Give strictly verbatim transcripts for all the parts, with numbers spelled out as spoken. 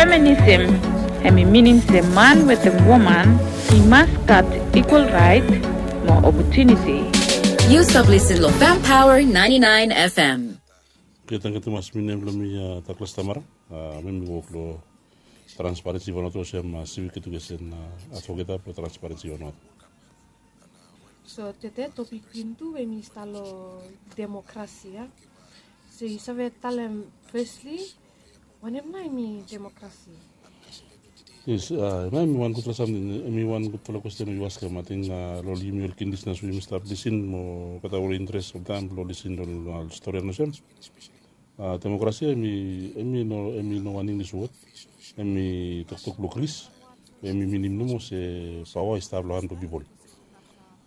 Feminism hemi minim se man wetem woman i mas gat ikwal raet mo opotuniti. Yu stap lisin long Fem Power ninety nine F M. Oke, tangkiu tumas. Mi nem blong mi Douglas Tamara. Mi mi wok long Transparency Vanuatu olsem Civic Education Advocate blong Transparency Vanuatu. So tede topik blong yumi tu we mi stap long demokrasi ya. So yu save talem fesli wanem nao hemi demokrasi? Yes, nao hemi wan gudfala samting, hemi wan gudfala kwesten we yu askem. Ating long ol yumi ol kidnis nao we yumi stap lisin mo olgeta ol interes oltaem blong lisin long ol stori olsem. Demokrasi hemi no wan Inglis wod. Hemi toktok blong Gris we hemi minim nomo se paoa i stap long han blong pipol.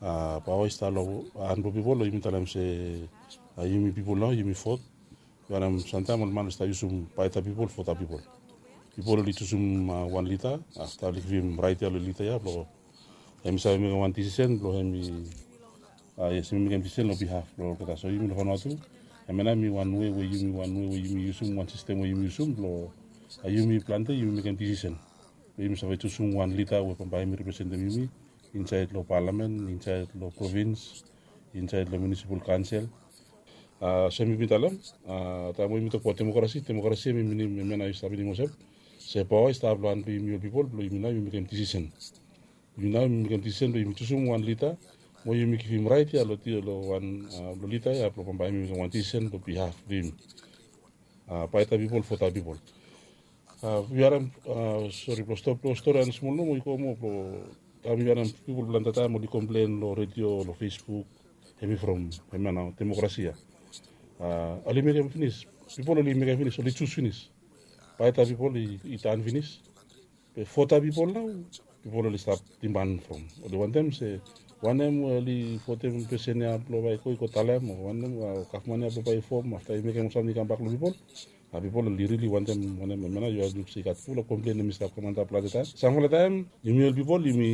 Paoa i stap long han blong pipol, yumi talem se yumi pipol nao yumi vot. Yu harem samtaem ol man oli stap yusum bae da pipol, vot da pipol. Pipol oli jusum wan lida, afta oli givim raet ya long lida ya blong hemi save mekem wan disisen blong hemi, yes, hemi mekem disisen long bihaf blong olgeta. So yumi long Vanuatu, hemia nao hemi wan wei we yumi, wan wei we yumi yusum, wan sistem we yumi yusum blong yumi plante yumi mekem disisen. Yumi save jusum wan lida we bambae hemi representem yumi insaed long palamen, insaed long provins, insaed long munisipal kaonsel. Olsem mi bin talem, taem we yumi tokbaot demokrasi, demokrasi hemi minim, hemia nao yu stap minim olsem se paoa i stap long han blong yumi ol pipol blong yumi nao yumi mekem disisen. Yumi nao yumi mekem disisen blong yumi jusum wan lida mo yumi givim raet ya long wan, long lida ya blong bambae hemi mekem wan disisen long bihaf blong yumi. Bae da pipol, vot da pipol. Yu harem, sori blong stop long stori, wan smol nomo i go moa blong taem yu harem pipol plante taem oli komplen long redio, long Facebook, hemi from hemia nao demokrasi ya. Oli mekem finis, pipol oli mekem finis, oli jus finis. Bae da pipol i, i tan finis. Be vot da pipol nao, pipol oli stap diman from, oli wantem se wanem we oli votem pesen ya blong bae i go, i go talem, o wanem, gavman ya blong bae i fom afta i mekem ol samting i kambak long pipol. Pipol oli rili wantem wanem, hemia nao yu harem se i gat fulap komplen hemi stap kam antap plante taem. Samfala taem yumi ol pipol yumi,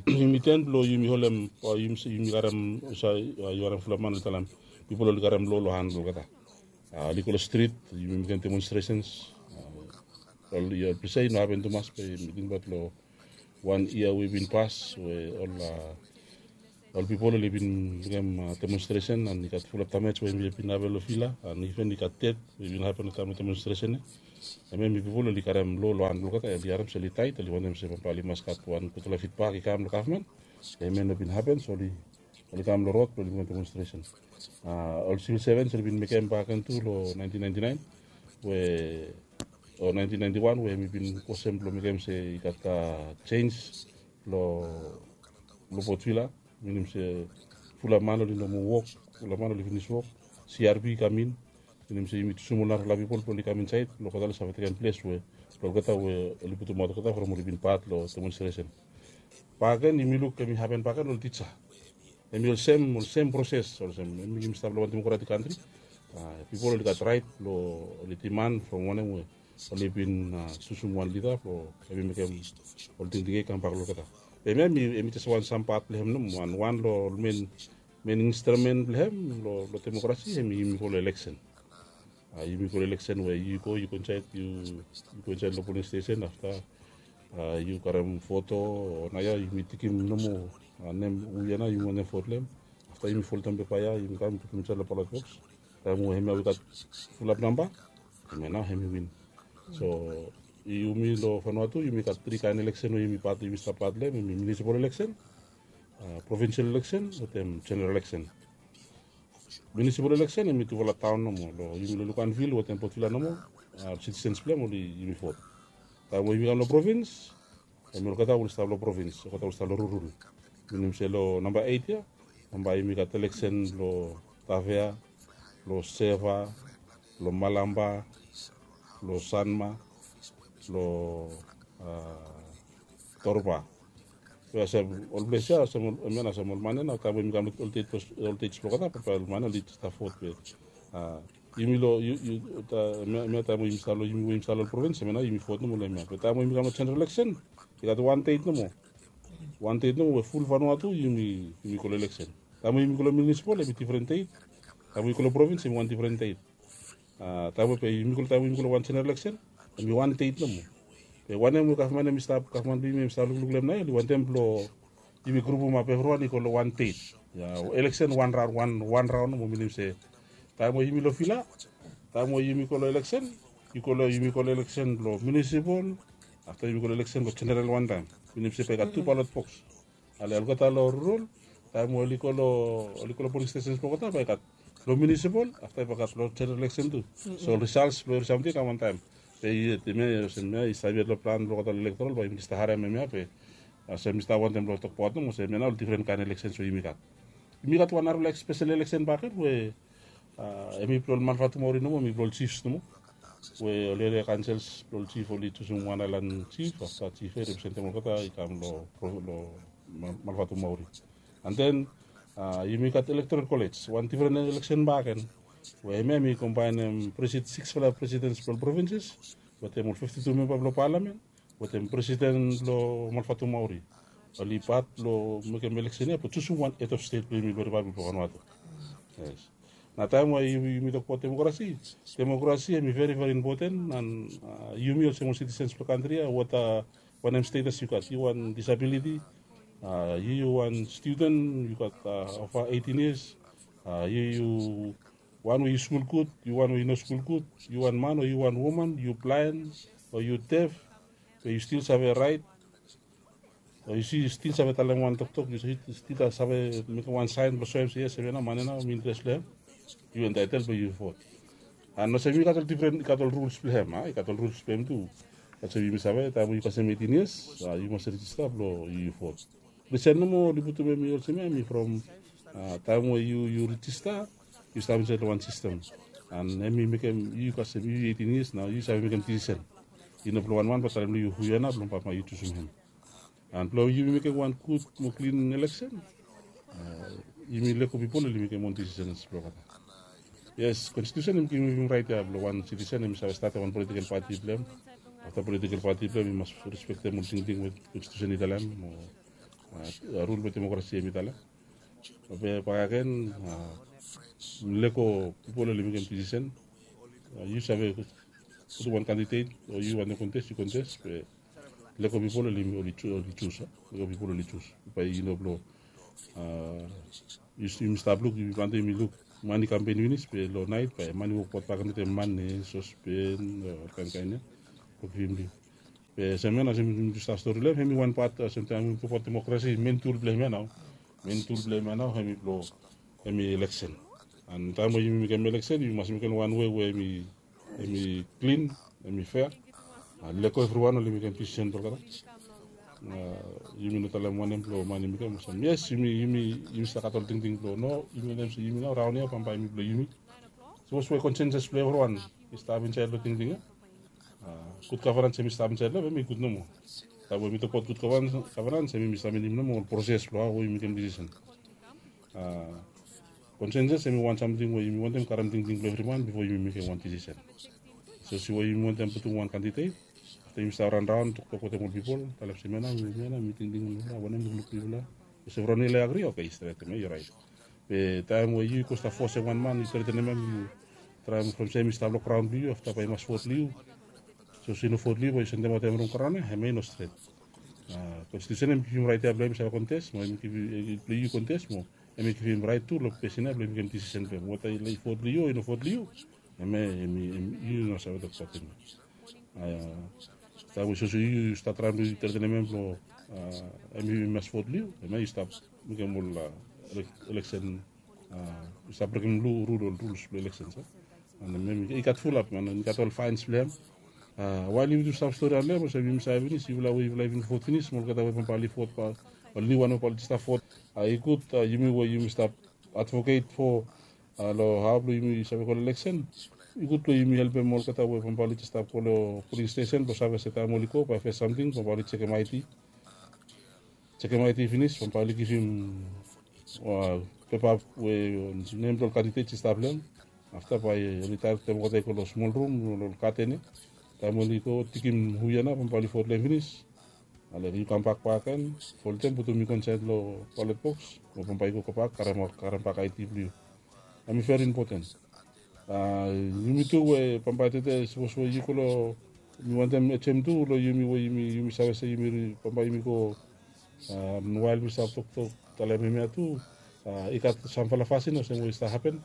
yumi ten blong yumi holem, o yumi karem, yu harem fulap man oli talem pipol oli karem lo long han blong olgeta. Oli go long strit, yumi mekem demonstresens. Ol ples ya i no hapen tumas, be mi tingbaot long wan yia we i bin pas we ol pipol oli bin mekem demonstresen, and i gat fulap damej we hemi bin hapen long Vila, and iven i gat ded we i bin hapen long taem blong demonstresen ya. Hemia hemi pipol oli karem lo long han blong olgeta, oli harem se oli taet, oli wantem se bambae oli mas gat wan gudfala fidbak i kam long gavman. Hemia i no bin hapen, so oli, oli kam long rod blong oli mekem demonstresen. Ol sivil sevens oli bin mekem bakegen tu long nineteen ninety nine we, o nineteen ninety one we hemi bin go olsem blong mekem se i gat jenj long, long Port Vila. Minim se fulap man oli no moa wok, fulap man oli finis wok. CRP i kam in, minim se yumi jusum ol narafala pipol blong oli kam insaed blong olgeta oli save tekem ples we blong olgeta we oli putumaot olgeta from oli bin pat long demonstresen. Bakegen yumi luk hemi hapen bakegen long ol tija. Hemi olsem, olsem proses olsem hemi, yumi stap long wan demokratik kantri. Pipol oli gat raet blong oli diman from wanem we oli bin jusum wan lida blong hemi mekem ol tingting ya i kambak long olgeta. Be hemia hemi jes wan sam pat blong hem nomo, wan, wan long ol men, men instrumen blong hem long, long demokrasi hemi, yumi go long eleksen. Yumi go long eleksen we yu go, yu go insaed, yu, yu go insaed long poling stesen, afta yu karem foto, o naoia yumi tikim nomo nem hu ya nao yumi wantem vot long hem. Afta yumi folem pepa ya, yumi kam putum insaed long balot boks. Taem we hemia we i gat fulap namba, hemia nao hemi win. So yumi long Vanuatu yumi gat tri kaen eleksen we yumi pat, yumi stap pat long hem, hemi munisipal eleksen, provinsel eleksen wetem jeneral eleksen. Munisipal eleksen hemi tufala taon nomo, long yumi long Luganville wetem Port Vila nomo, sitisens blong hem oli, yumi vot. Taem we yumi kam long provins, hemi olgeta we oli stap long provins, olgeta we oli stap long rurul. Minim se long namba eit ya, namba yumi gat eleksen long Tavea, long Seva, long Malampa, long Sanma, long Torba. Be olsem ol ples ya, olsem ol, hemia nao olsem ol man ya nao taem we yumi kam long ol deit, ol deit blong olgeta, be ol man ya oli stap vot be yumi long, yu, yu, hemia taem we yumi stap long, yumi we yumi stap long provins, hemia nao yumi vot nomo long hemia. Be taem we yumi kam long jeneral eleksen, i gat wan deit nomo. Wan deit nomo we ful Vanuatu yumi, yumi go long eleksen. Taem we yumi go long munisipal hemi difren deit. Taem we yumi go long provins hemi wan difren deit. Taem we, be yumi go, taem we yumi go long wan jeneral eleksen, hemi wan deit nomo. Be wanem we gavman em i stap, gavman blong yumi em i stap lukluk long em nao, oli wantem blong yumi grupum ap evriwan i go long wan deit. Ya, eleksen wan raon, wan wan raon nomo, minim se taem we yumi long fila, taem we yumi go long eleksen, yu go long, yumi go long eleksen blong munisipal, afta yumi go long eleksen blong jeneral wantaem, minim se bae i gat tu balot boks. Ale olgeta long rural, taem we oli go long, oli go long poling stesens blong olgeta bae i gat long munisipal, afta bae i gat long jeneral eleksen tu. So risals blong evri samting i kam wantaem. Be yet hemia, olsem hemia i stap yet long plan blong olgeta long elektoral, bae yumi stap harem hemia be, olsem mi stap wantem blong tokbaot nomo olsem hemia nao ol difren kaen eleksens we yumi gat. Yumi gat wan narafala spesel eleksen bakegen we hemi blong ol manfaetum maori nomo, hemi blong ol jifs nomo. We ol eria kaensels blong ol jif oli jusum wan aelan jif, afta jif ya i representem olgeta i kam long, long manfaetum maori. And then yumi gat elektoral kolej, wan difren eleksen bakegen, we hemia hemi kombaenem siksfala presidens blong ol provinses wetem ol fifti tu memba blong palamen wetem presiden blong manfaetum maori. Oli pat blong mekem eleksen ya blong jusum wan hed of stet blong yumi blong ripablik blong Vanuatu. Yes. Nao taem we yumi tokbaot demokrasi, demokrasi hemi veri veri impoten. And yumi olsem ol sitisens blong kantri ya, wata wanem stetas yu gat, yu wan disabiliti, yu wan studen, yu gat ova eitin yias, yu yu wan we yu skul gud, yu wan we yu no skul gud, yu wan man o yu wan woman, yu blaen o yu def, be yu stil save raet, o yu stil save talem wan toktok, yu stil save mekem wan saen blong soem se yes, hemia nao man ya nao mi interes long hem, yu entaetel blong yu vot. And olsem i gat ol difren, i gat ol ruls blong hem, a, i gat ol ruls blong hem tu. Olsem yumi save taem we yu kasem eitin yias, a, yu mas rejista blong yu vot. Risen nomo oli putum hemi olsem ya, hemi from taem we yu, yu rejista, yu stap insaed long wan sistem. And hemi mekem yu kasem yu eitin yias nao yu save mekem disisen. I no blong wan man blong talem long yu hu ya nao blong bambae yu jusum hem. And blong yumi mekem wan gud mo klin eleksen, yumi lego pipol oli mekem on disisen blong olgeta. Yes, konstitusen hemi givim yumi raet ya blong wan sitisen hemi save statem wan politikel pati blong hem. Afta politikel pati blong hem i mas respektem ol tingting we konstitusen i talem, mo rul we demokrasi hemi talem. Be bakegen, lego pipol oli mekem disisen. Yu save putum wan kandidet o yu wantem kontes, yu kontes, be lego pipol oli, oli jus, a, lego pipol oli jus. Bae i no blong, a, yumi stap luk, yumi plante yumi luk man i kampen finis, be long naet bae man i wokbaot bakegen wetem man ne sospen, olkaen kaen ya, blong givim lif. Be olsem ya nao olsem mi stap stori long hem, hemi wan pat olsem taem yumi tokbaot demokrasi, men tul blong hem ya nao, men tul blong hem ya nao hemi blong, hemi eleksen. And taem we yumi mekem eleksen yumi mas mekem wan wei we hemi, hemi klin, hemi fea. Lego evriwan oli mekem disisen blong olgeta. Yumi no talem wanem blong man i mekem olsem yes, yumi, yumi, yumi stap gat ol tingting blong no, yumi wantem se yumi nao raon ya bambae hemi blong yumi. Sapos we konsenses blong evriwan i stap insaed long tingting ya, gud gavanans hemi stap insaed long hem, hemi gud nomo. Taem we mi tokbaot gud gavanans, hemi, mi stap minim nomo ol proses blong hao we yumi mekem disisen. Konsenses hemi wan samting we yumi wantem karem tingting blong evri man bifo yumi mekem wan disisen. Sapos we yumi wantem putum wan kandidet, afta yumi stap ranraon toktok wetem ol pipol, talem se hemia nao, hemia nao mi tingting long hemia, wanem lukluk blong yufala. Sapos evriwan oli agri, oke, i stret, hemia i raet. Be taem we yu go stap fosem wan man, yu tretenem hem, yu traem from se hemi stap long graon blong yu, afta bae i mas vot long yu. Sapos i no vot long yu bae yu sendemaot hem long graon ya, hemia i no stret. Konstitusen hemi givim raet ya blong hem i save kontes, mo hemi givim blong yu kontes, mo hemi givim raet tu long pesin ya blong i mekem disisen blong hem weta i vot long yu o i no vot long yu. Hemia hemi, yu no save tokbaot hemia. Taem we sapos yu, yu stap traem blong yu tretenem hem blong hemi mas vot long yu, hemia yu stap mekem ol eleksen, yu stap brekem rul, ol ruls blong eleksens. And hemia i gat fulap man, i gat ol faens blong hem. Wael yumi tu stap stori long hem, olsem yumi save finis, yufala we yufala i bin vot finis mo olgeta we bambae oli vot, ol niuwan we bambae oli stap vot, i gud yumi we yumi stap advoket fo long hao blong yumi save go long eleksen. I gud blong yumi helpem olgeta we bambae oli stap go long poling stesen blong save se taem oli go bae fes samting bambae oli jekem aedi. Jekem aedi finis bambae oli givim pepa we nem blong ol kandidet i stap long hem. Afta bae oli taem olgeta i go long smol rum long ol gaden ya. Taem oli go tigim hu ya nao bambae oli vot long hem finis. Ale yu kambak bakegen, folem, putum i go insaed long balot boks mo bambae yu go gobak karem, karem bak aedi blong yu. Hemi veri impoten. Yumi tu we bambae tede sapos we yu go long Mi wantem ejem tu long yumi we yumi save se yumi bambae yumi go. Wael mi stap toktok talem hemia tu, i gat samfala fasin olsem we i stap hapen.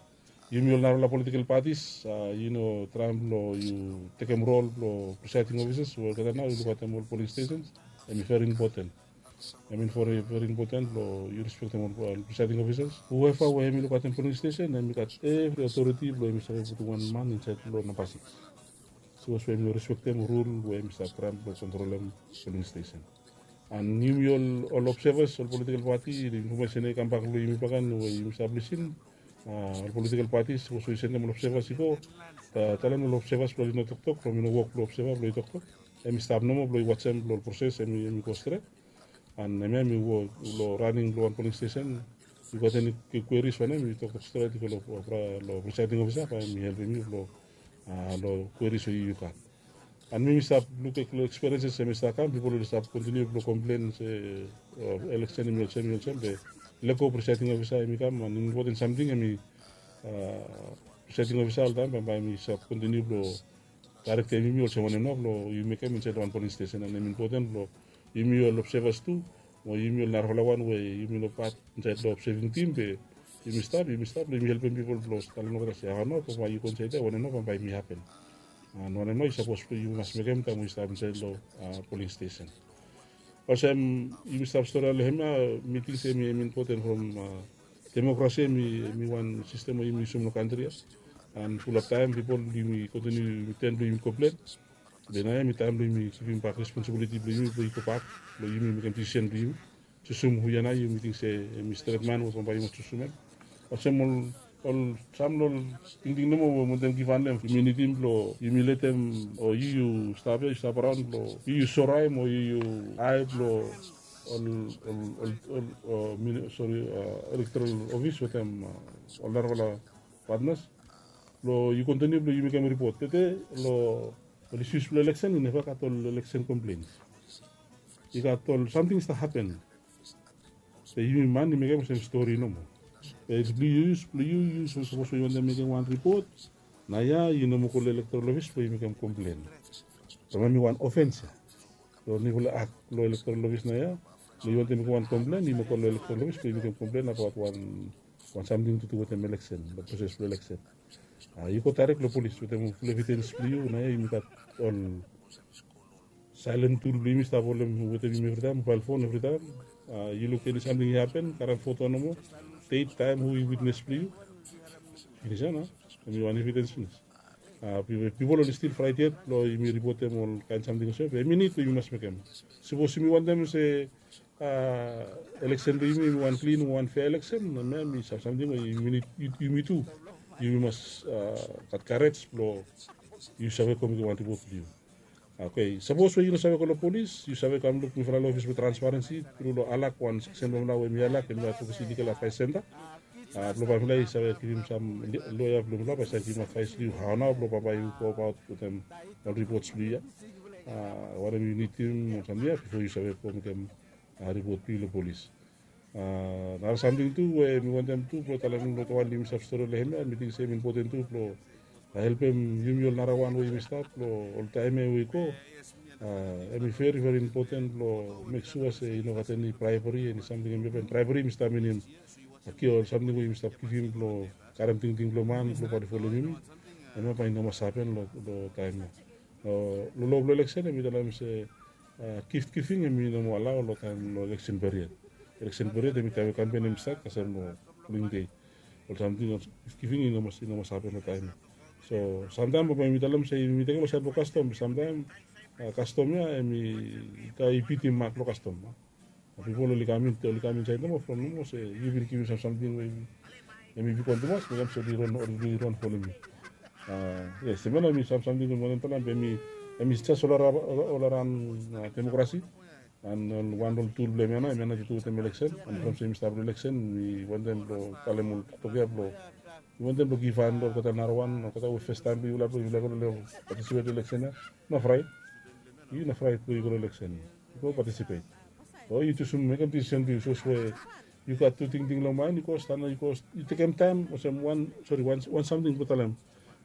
Yumi ol narafala political parties, yu no traem blong yu tekem rol blong presiding officers we olgeta nao yu lukaotem ol polling stations. Em i very important. Em i very important blong yu respektem ol presiding officers. Whoever we em i lukaotem polling station em i gat evri authority blong em i save putum wan man insaed long namba six. Sapos we em i respektem rul we em i stap traem blong kontrolem polling station. And yumi ol observers, ol political party, infomesen ya i kambak long yumi baken we yumi stap lisin. Ol political parties, sapos we yu sendem ol observers i go, talem long ol observers blong oli no toktok from i no wok blong observer blong i toktok. Em i stap nomo blong i wajem blong ol proses em i go stret. And hemia em i wok long raning blong wan polling station. Yu gat eni kweris wanem, yu toktok stret i go long presiding officer bae em i helpem yu long kweris we yu gat. And mi mi stap luk long experiences em i stap kam, pipol oli stap kontiniu blong komplen se eleksen em i olsem, i olsem be lego presiding officer em i kam. And impoten samting em i presiding officer oltaem bambae em i stap kontiniu blong daerektem yumi olsem wanem nao blong yu mekem insaed long wan polling station. And em impoten blong yumi ol observers tu, mo yumi ol narafala wan we yumi no pat insaed long observing tim be yumi stap, yumi stap blong yumi helpem pipol blong talem long olgeta se hao nao bambae yu go insaed ya, wanem nao bambae em i hapen. And wanem nao i sapos blong yu mas mekem taem we yu stap insaed long polling station. Olsem yumi stap stori long hemia, mi ting se em i impoten from demokrasi em i wan sistem we yumi yusum long kantri ya. And fulap taem pipol yumi kontiniu yumi ten blong yumi komplen. Be naoia em i taem blong yumi givim bak responsibiliti blong yumi blong i gobak blong yumi mekem disisen blong yumi. Jusum hu ya nao yumi ting se em i stret man we bambae yu mas jusum em. Olsem ol ol sam long ol tingting nomo we wantem givhan long em, yumi nidim blong yumi letem, o yu yu stap ya, yu stap raon blong yu yu soraem o yu yu haed long ol ol ol ol sori, elektoral ofis wetem ol narafala patnas blong yu kontiniu blong yu mekem ripot. Tede long ol isius blong eleksen i neva gat ol eleksen komplens. I gat ol samting i stap hapen. Be yumi man i mekem olsem stori nomo. Be blong yu, blong yu, yu sapos we yu wantem mekem wan ripot, naoia yu no moa go long elektoral ofis blong yu mekem komplen. Bambae em i wan ofens ya. Long niufala ak blong elektoral ofis naoia, blong yu wantem mekem wan komplen yu moa go long elektoral ofis blong yu mekem komplen abaot wan wan samting tu tu wetem eleksen, long proses blong eleksen. Yu go daerek long polis wetem ful evidens blong yu. Naoia yumi gat ol saelen tul blong yumi stap holem wetem yumi evritaem, mobael fon evritaem. Yu luk eni samting i hapen, karem foto nomo, det, taem, hu i witnes blong yu. Finis ya nao, em i wan evidens finis. Pipol oli stil fraet yet blong yumi ripotem ol kaen samting olsem ya be em i nid we yumi mas mekem. Sapos yumi wantem se eleksen blong yumi em i wan klin o wan fea eleksen, hemia em i samting we yumi nid, yumi tu yumi mas gat karej blong yu save go mekem wan ripot blong yu. Oke, sapos we yu no save go long polis, yu save kam luk mifala long ofis blong transparensi tru long alak, wan seksen blong mifala we mi alak em i advokesi ligal advaes senta. Blong bae mifala i save givim sam loea blong mifala bae i save givim advaes long yu hao nao blong bambae yu go abaot wetem ol ripots blong yu ya. Wanem yu nidim o samting ya bifo yu save go mekem ripot blong yu long polis. Nara samting tu we mi wantem tu blong talem long wan yumi stap stori long hemia, mi ting se em impoten tu blong helpem yumi ol narawan we yumi stap long ol taem ya we i go. Em i veri veri impoten blong mek sua se i no gat eni braebri, eni samting em i hapen. Braebri mi stap minim ol samting we yumi stap givim blong karem tingting blong man blong bae i folem yumi. Hemia bae i no mas hapen long taem ya. Long lo blong eleksen em i talem se gift giving em i no moa alao long taem long eleksen period. Eleksen period em i taem we kampen em i stat kasem long poling dei. Ol samting ol gift giving i no mas, i no mas hapen long taem ya. So samtaem bambae yumi talem se yumi tekem olsem long kastom, be samtaem kastom ya em i bitim mak long kastom. Pipol oli kam in, oli kam insaed nomo from nomo se yu bin givim sam samting we em i bigwan tumas, mekem se oli ron, oli ron folem yu. Yes, hemia nao em i sam samting we mi wantem talem be em i jes ol araon demokrasi. And ol wan ol tul blong hemia nao, hemia nao tu wetem eleksen. And from se yumi stap long eleksen mi wantem blong talem ol toktok ya blong mi wantem blong givhan long olgeta narawan, olgeta we fes taem blong yufala blong yufala go long patisipet long eleksen ya. No fraet. Yu no fraet blong yu go long eleksen. Yu go patisipet. O yu jusum mekem disisen blong yu sapos we yu gat tu tingting long maen, yu go stanap, yu go, yu tekem taem olsem wan, sori, wan samting blong talem.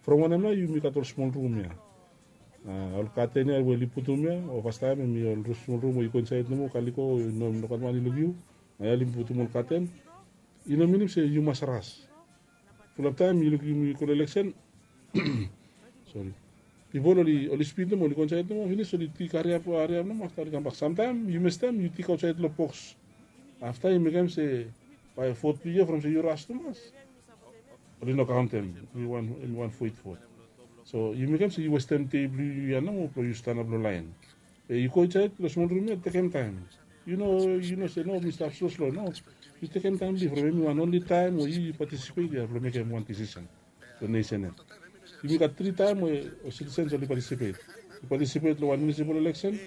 From wanem nao yumi gat ol smol rum ya. Ol katen ya we oli putum ya, o fastaem hemi ol smol rum we yu go insaed nomo, kaliko, no gat man i luk yu. Nao ya oli putum ol katen. I no minim se yu mas ras. Fulap taem yu luk yumi go long eleksen, sori, pipol oli spid nomo, oli go insaed nomo, finis oli tik hariap hariap nomo, afta oli kambak. Samtaem yu mestem yu tik aotsaed long boks. Afta yu mekem se bae vot blong yu ya, from se yu ras tumas, oli no kaontem. Hemi wan, hemi wan foit vot. So yu mekem se yu westem dei blong yu ya nomo blong yu stanap long laen. Be yu go insaed long smol rum ya, tekem taem. Yu no, yu no se no, mi stap sloslo, no. Yu tekem taem blong yu, from hemi wan onli taem we yu patisipet ya blong mekem wan disisen long nesen ya. Yumi gat tri taem we ol sitisens oli patisipet. Yu patisipet long wan munisipal eleksen,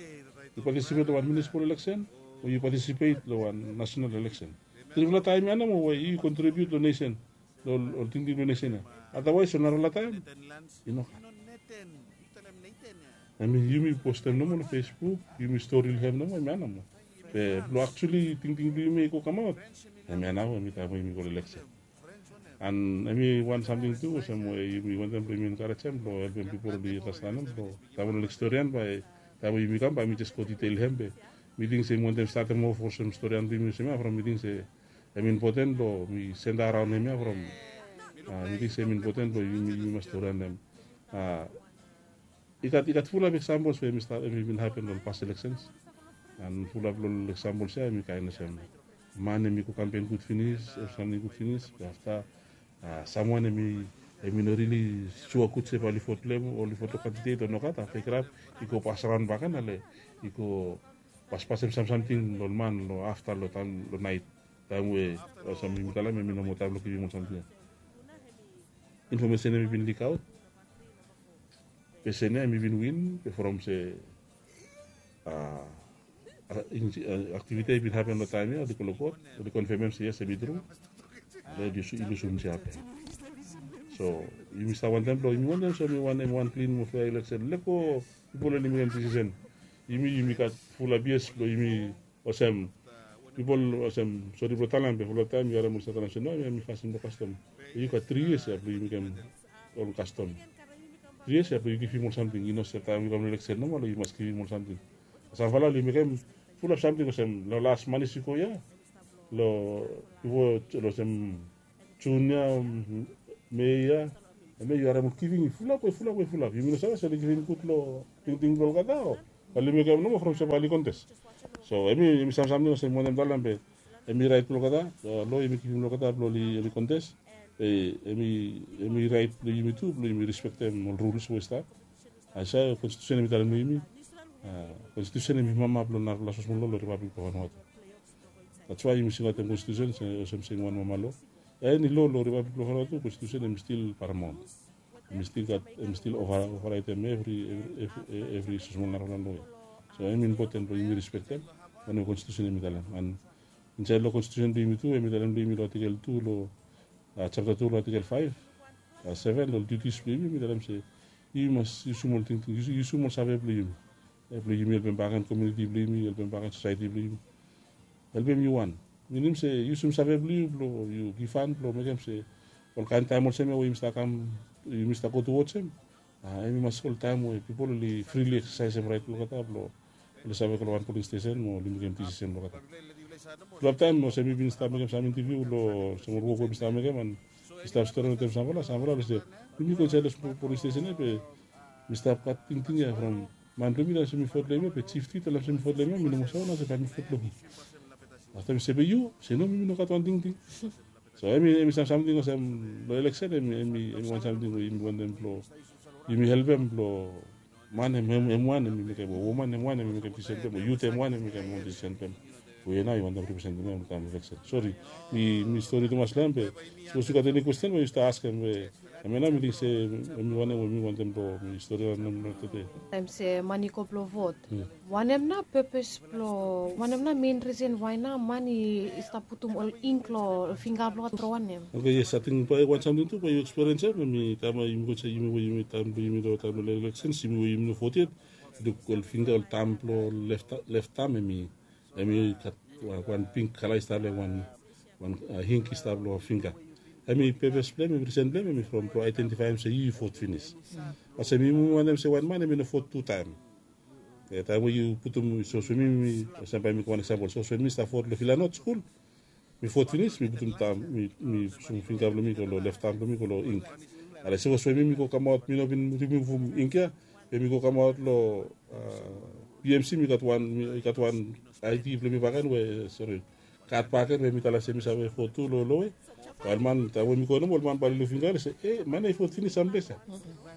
yu patisipet long wan munisipal eleksen, o yu patisipet long wan nasenal eleksen. Trifala taem ya nomo we yu kontribiut long nesen, long ol tingting blong nesen ya. Adawaes ol narafala taem i no gat. Hemi yumi postem nomo long Facebook, yumi stori long hem nomo, hemia nomo. Be blong aktuali tingting blong yumi i go kamaot, hemia nao hemi taem we yumi go long eleksen. An hemi wan samting tu olsem we yumi wantem blong yumi enkarejem blong helpem pipol oli andastanem blong taem we oli stori ya, bae taem we yumi kam bae mi jes go ditel long hem. Be mi ting se mi wantem statem of olsem stori ya blong yumi olsem ya, from mi ting se hemi impoten blong mi senda raon hemia from, mi ting se hemi impoten blong yumi, yumi mas stori ya long hem. I gat, i gat fulap eksampol we hemi stap, hemi bin hapen long ol pas eleksens. An fulap long ol eksampol ya hemi kaen olsem man hemi go kampen gud finis, ol samting gud finis, be afta samwan hemi, hemi no rili sua gud se bae oli vot long hem o oli vot long kandidet o nogat, afta i kirap i go pasraon bakegen, ale i go paspasem sam samting long ol man long afta long taem long naet, taem we olsem yumi talem hemi no moa taem blong givim ol samting ya. Infomesen hemi bin likaot. Pesen ya hemi bin win, be from se aktiviti ya i bin hapen long taem ya, oli go long kot, oli konfemem se yes, hemi tru. Oli lusum jab ya. So yumi stap wantem blong, yumi wantem se hemi wan, hemi wan klin mo fea eleksen. Lego pipol oli mekem disisen. Yumi, yumi gat fulap yes blong yumi olsem, pipol olsem, sori blong talem, be fulap taem yu harem oli stap talem se no, hemia hemi fasin blong kastom. Be yu gat tri yias ya blong yu mekem ol kastom. Tri yias ya blong yu givim ol samting, i no se taem yu kam long eleksen nomo long yu mas givim ol samting. Samfala oli mekem fulap samting olsem long las manis i go ya, long bifo, long olsem Jun ya, Mei ya, hemia yu harem ol givim i fulap we fulap we fulap. Yumi no save se oli givim gud long tingting blong olgeta o bae oli mekem nomo from se bae oli kontes. So hemi, hemi sam samting olsem mi wantem talem, be hemi raet blong olgeta, lo hemi givim long olgeta blong oli, oli kontes. Be hemi, hemi raet blong yumi tu blong yumi rispektem ol ruls we i stap. Hemia konstitusen hemi talem long yumi. Konstitusen hemi mama blong narafala smosmol lo long Ripablik blong Vanuatu. That's why yumi singaotem konstitusen olsem, olsem wan mama lo. Eni lo long Ripablik blong Vanuatu, konstitusen hemi stil paramaon. Hemi stil gat, hemi stil ova, ovaraetem evri, evri, evri, evri smosmol narafala lo ya. So hemi impoten blong yumi rispektem wanem konstitusen hemi talem. An insaed long konstitusen blong yumi tu, hemi talem blong yumi long atikel tu, long japta tu, long atikel faef, seven, long ol diutis blong yumi, hemi talem se yumi mas yusum ol tingting, yusum ol save blong yumi. Blong yumi helpem bakegen komuniti blong yumi, helpem bakegen sosaeti blong yumi. Helpem yu wan. Minim se yusum save blong yu blong yu givhan blong mekem se ol kaen taem olsem ya we yumi stap kam, yumi stap go tuwods hem, hemi mas ol taem we pipol oli frili eksasaesem raet blong olgeta blong oli save go long wan poling stesen mo oli mekem disisen blong olgeta. Fulap taem olsem mi bin stap mekem sam intaviu long olsem ol wok we mi stap mekem, an mi stap stori wetem samfala, samfala oli se, yumi go insaed long poling stesen ya, be mi stap gat tingting ya from man blong mi talem se mi vot long hem ya, be jif tu i talem se mi vot long hem ya, mi no moa save nao se bae mi vot long hu. Afta mi se, be yu? Se no, mi, mi no gat wan tingting. So hemi, hemi sam samting olsem long eleksen, hemi, hemi wan samting we yumi wantem blong yumi helpem blong man hem, hem wan hemi mekem, o woman hem wan hemi mekem disisen blong hem, o yut hem wan hemi mekem wan disisen blong hem. We nao yu wantem representem hem long taem eleksen. Sori, mi, mi stori tumas long hem, be sapos yu gat eni kwesten we yu stap askem, be hemia nao mi ting se hemi wanem we mi wantem blong mi stori long hem long tede. Taem se man i go blong vot, wanem nao pepes blong, wanem nao mein risen wae nao man i stap putum ol ink long fingga blong olgeta, tru wanem? Oke, yes, ating bae wan samting tu bae yu ekspiriensem, hemi taem we yumi go insaed, yumi we yumi taem blong yumi long taem blong eleksen, yumi we yumi no vot yet, ol fingga, ol tam blong lef, lef tam, hemi, hemi gat wan, wan pink kala i stap long hem, wan, wan ink i stap long fingga. Em i pepes blong em, em risen blong em em i from blong aedentifaem se yu yu vot finis. Olsem yumi wantem se wan man em i no vot tu taem. Taem we yu putum, so swemim mi olsem bae mi go wan eksampol, so swemim mi stap vot long vilanot skul, mi vot finis mi putum tam, mi pusum finga blong mi go long lef tam blong mi go long ink. Ale sapos we mi mi go kamaot, mi no bin rimuvum ink ya, be mi go kamaot long bmc, mi gat wan, mi gat wan id blong mi bakegen we sori, kad bakegen we mi talem se mi save vot tu long lowe. Wael man taem we mi go nomo, ol man bae oli luk finga oli se, e man ya i vot finis samples ya.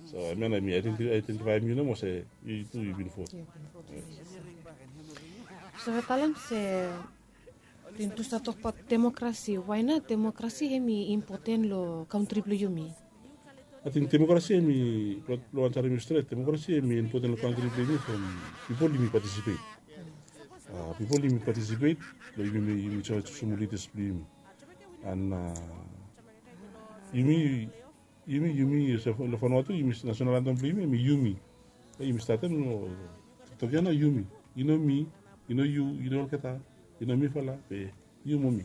So hemia nao mi aedentifaem yu nomo se yu tu yu bin vot. Save talem se, bin tu stap tokbaot demokrasi, wae nao demokrasi hem i impoten long kantri blong yumi? Ating demokrasi hem i, blong wan sarim yu stret, demokrasi hem i impoten long kantri blong yumi from pipol yumi patisipet. Pipol yumi patisipet long yumi, yumi save jusum ol lidas blong yumi. An yumi, yumi, yumi olsem long Vanuatu yumi, nasenal antem blong yumi hem i yumi. Yumi statem long TikTok ya nao, yumi. I no mi, i no yu, i no olgeta, i no mifala be yu mo mi.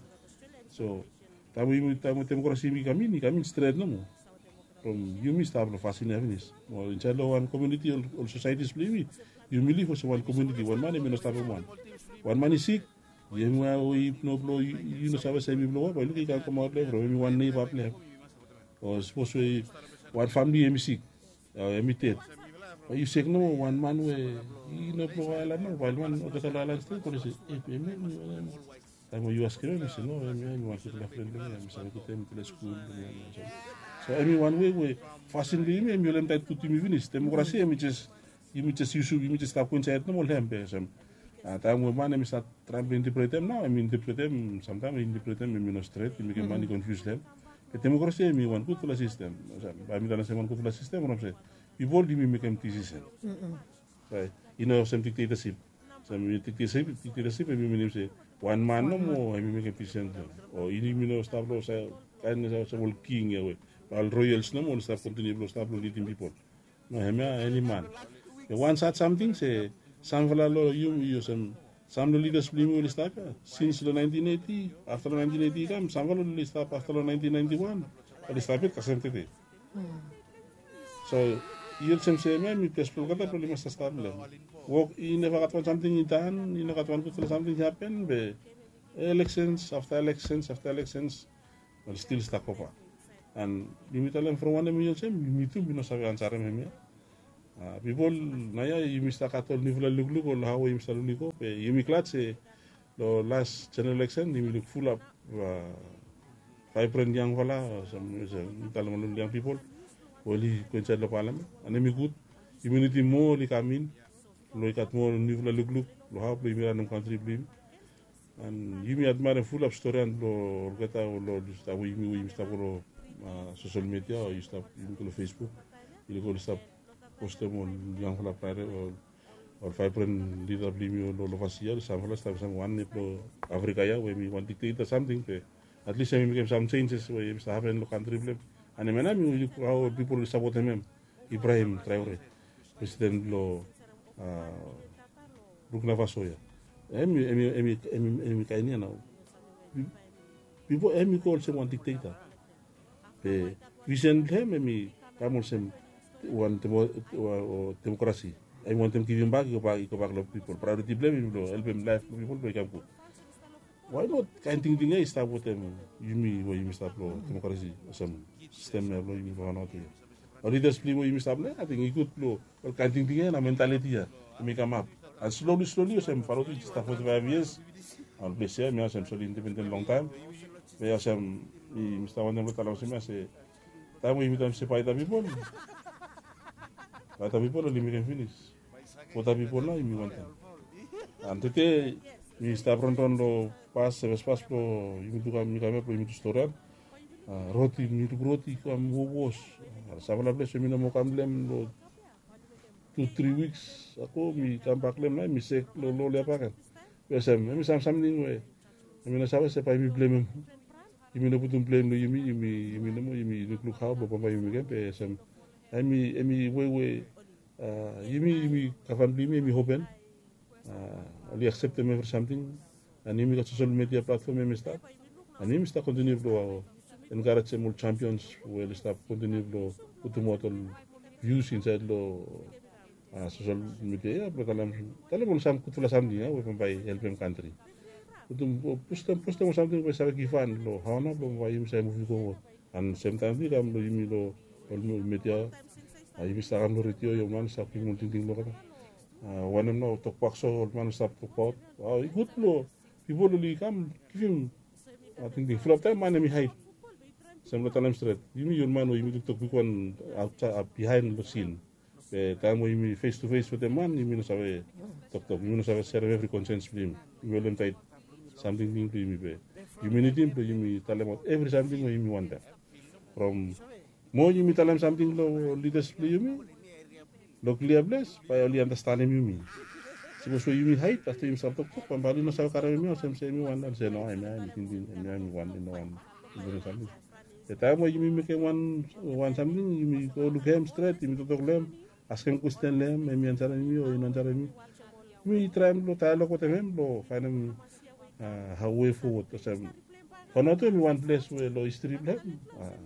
So taem we yumi, taem we demokrasi hem i kam in, i kam in stret nomo. From yumi stap long fasin ya finis. Mo insaed long wan komuniti, ol sosaetis blong yumi, yumi liv olsem wan komuniti, wan man hem i no stap hem wan. Wan man i sik, hem we i no blong yu, yu no save se hem i blong wae, bae yu luk i kam kamaot long hem from hem i wan neiba blong hem. O sapos we wan famle hem i sik, hem i ded, bae yu sek nomo, wan man we i no blong aelan nomo, bae wan olgeta long aelan stret oli se, e be hem ya hem i wanem? Taem we yu askem hem i se no, hemia hem i wan gutpela fren blong mi, mi save gud, hem i ples skul blong mi. So hem i wan wei we fasin blong yumi hem i holem taet gud yumi finis. Demokrasi hem i jes, yumi jes yusum, yumi jes stap go insaed nomo long hem be olsem, taem we man hem i stat traem blong intepretem nao, hem i intepretem, samtaem intepretem hem i no stret, i mekem man i konfius long hem. Be demokrasi hem i wan gudfala sistem. Bae mi talem se hem i wan gudfala sistem olsem se pipol yumi mekem disisen. Raet? I no olsem diktetasip. Olsem diktetasip hem i minim se wan man nomo hem i mekem disisen, o yumi no stap long kaen olsem ol king ya we ol royals nomo oli stap kontiniu blong stap blong lidim pipol. No, hemia eni man. Be wan sad samting se samfala long yumi, olsem sam long lidas blong yumi oli stap ya sins long naentin eiti, afta long naentin eiti i kam, samfala oli stap afta long naentin naenti wan, oli stap yet kasem tede. So i olsem se hemia hem i ples blong olgeta blong oli mas stap long hem. Wok i neva gat wan samting i dan, i no gat wan gudfala samting i hapen, be eleksens afta eleksens afta eleksens oli stil stap goback. An yumi talem from wanem i olsem, yumi tu yumi no save ansarem hemia. Pipol naoia yumi stap gat ol niufala lukluk ol hao we yumi stap lukluk i go, be yumi glad se long las jeneral eleksen yumi luk fulap vaebren yangfala, olsem mi talem ol yang pipol we oli go insaed long palamen. An hem i gud, yumi nidim moa oli kam in blong i gat moa niufala lukluk long hao blong yumi ranem kantri blong yumi. An yumi admaerem fulap storian blong olgeta ol, ol stap we yumi, we yumi stap go long sosel media o yumi go long Facebook, yumi go oli stap postem ol yangfala praere o ol vaebren lida blong yumi ol, ol ovasi ya, ol samfala stap olsem wan nep long Afrika ya we hem i wan dikteta samting, be atlis hem i mekem sam senses we hem i stap hapen long kantri blong hem. An hemia nao mi luk hao ol pipol oli sapotem hem, Ibrahim Traore, presiden blong Burkina Faso ya. Hem i, hem i, hem i kaen ya nao, pipol, hem i go olsem wan dikteta. Be visen blong hem hem i kam olsem wan demokrasi. Hem i wantem givimbak i gobak, i gobak long pipol. Praeoriti blong hem i blong helpem laef blong pipol blong i kam gud. Wae not kaen tingting ya i stap wetem yumi we yumi stap long demokrasi, olsem sistem ya blong yumi long Vanuatu ya? Ol lidas blong yumi we yumi stap long ya, ating i gud blong ol kaen tingting ya na mentaliti ya hem i kamap. An sloli sloli olsem Vanuatu i jes stap foti faev yias. Ol ples ya hemia olsem soli independen longtaem. Be olsem mi stap wantem blong talem olsem ya se taem we yumi talem se baeta pipol, baeta pipol oli mekem finis. Bota pipol nao yumi wantem. An tede mi stap ronron long pas, sevespas blong yumi tu kam, mi kam ya blong yumi tu storian. Roti, mi luk roti i kam wowos. Samfala ples we mi no moa kam long hem long tu tri wiks ago, mi kambak long hem nao mi sek long lol ya bakegen. Be olsem hem i sam samting we yumi no save se bae yumi blem hem. Yumi no putum blem long yumi, yumi, yumi nomo yumi lukluk hao blong bambae yumi mekem, be olsem hem i, hem i wei we yumi, yumi gavman blong yumi hem i open. Oli akseptem evri samting. An yumi gat sosel media platfom hem i stap. An yumi stap kontiniu blong enkarejem ol champions we oli stap kontiniu blong putum aut ol vius insaed long sosel midia ya blong talem ol sam gudfala samting ya we bambae i helpem kantri. Putum postem postem ol samting we save givhan long hao nao blong bambae yumi save muvi gowod. An semtaem tu i kam long yumi long ol midia, yumi stap kam long redio ya ol man i stap givim ol tingting blong olgeta. Wanem nao tokbakso ol man i stap tokbaot, i gud blong pipol oli kam givim tingting. Fulap taem man hem i haed. Sem long talem stret yumi ol man we yumi toktok bigwan aotsaed bihaen long sin. Be taem we yumi fes tu fes wetem man yumi no save toktok, yumi no save serem evri konsens blong yumi. Yumi holem taet samting blong yumi be yumi nidim blong yumi talemaot evri samting we yumi wantem. From mo yumi talem samting long lidas blong yumi long klia ples bae oli anastenem yumi. Sapos we yumi haed afta yumi stap toktok bambae oli no save karem yumi olsem se yumi wan, oli se no, hemia hemi tingting, hemia hemi wan, i no wan diferent samting. Be taem we yumi mekem wan samting yumi go lukim hem stret, yumi toktok long hem, askem kwesten long hem, hem i ansarem yumi o i no ansarem yumi. Yumi traem blong daelog wetem hem blong faenem hao we fowod olsem. Vanuatu hem i wan ples we long histri blong hem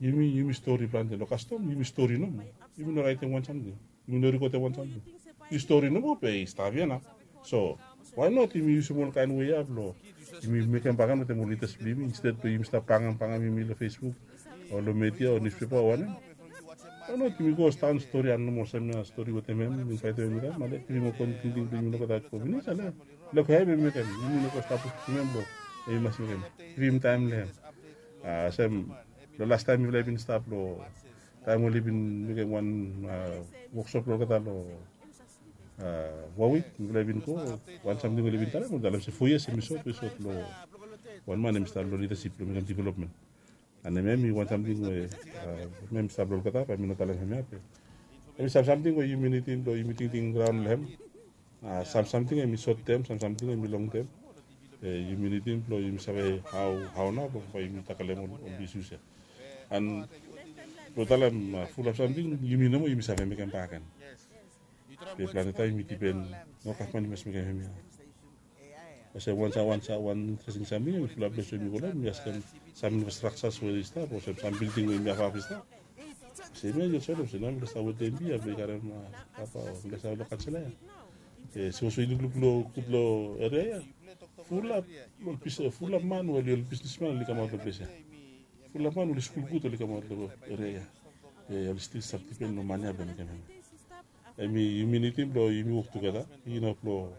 yumi yumi stori plante long kastom, yumi stori nomo. Yumi no raetem wan samting, yumi no rikotem wan samting. I stori nomo be i stap ya nao. So wae not yumi yusim ol kaen wei ya blong yumi mekem baken wetem ol lidas blong yumi, insted blong yumi stap bangem bangem yumi long Facebook o long media o niuspepa o wanem? Wae not yumi go staon stori an nomo olsem ya, stori wetem hem, yumi faetem hem i kam ale givim ol tingting blong yumi nogat aot go finis ale. Luk hem i mekem, yumi no go stap putum hem blong hem i mas mekem. Givim taem long hem. Olsem long lastaem mifala i bin stap long taem oli bin mekem wan woksop long olgeta long wan wik mifala i bin go, wan samting oli bin talem, oli talem se fo yias hem i sot, i sot long wan man hem i stap long lidasip blong mekem developmen. An hem hem i wan samting we hem hem i stap long olgeta bae mi no talem hem ya be hem i sam samting we yumi nidim blong yumi tingting raon long hem. Sam samting hem i sotem, sam samting hem i longtem. Yumi nidim blong yumi save hao nao blong bae yumi takelem ol isus ya. An blong talem fulap samting yumi nomo yumi save mekem baken. Be plante taem yumi dipen, no gavman i mas mekem hemia. Olsem wan sa wan sa wan interesting samting hem i fulap ples we yumi go long hem yumi askem sam infrastraksas we i stap olsem sam bilding we yumi hafhaf i stap. Olsem ya yu olsem olsem nao mifala stap wetem hemia blong i karem papa o mifala stap long kansela ya. Sapos we yu lukluk long gud long eria ya, fulap ol bis fulap man we oli ol bisnisman oli kamaot long ples ya. Fulap man we oli skul gud oli kamaot long eria ya. Be oli stil stap dipen long man ya blong mekem hemia. Hemi yumi nidim blong yumi wok tugeta, i no blong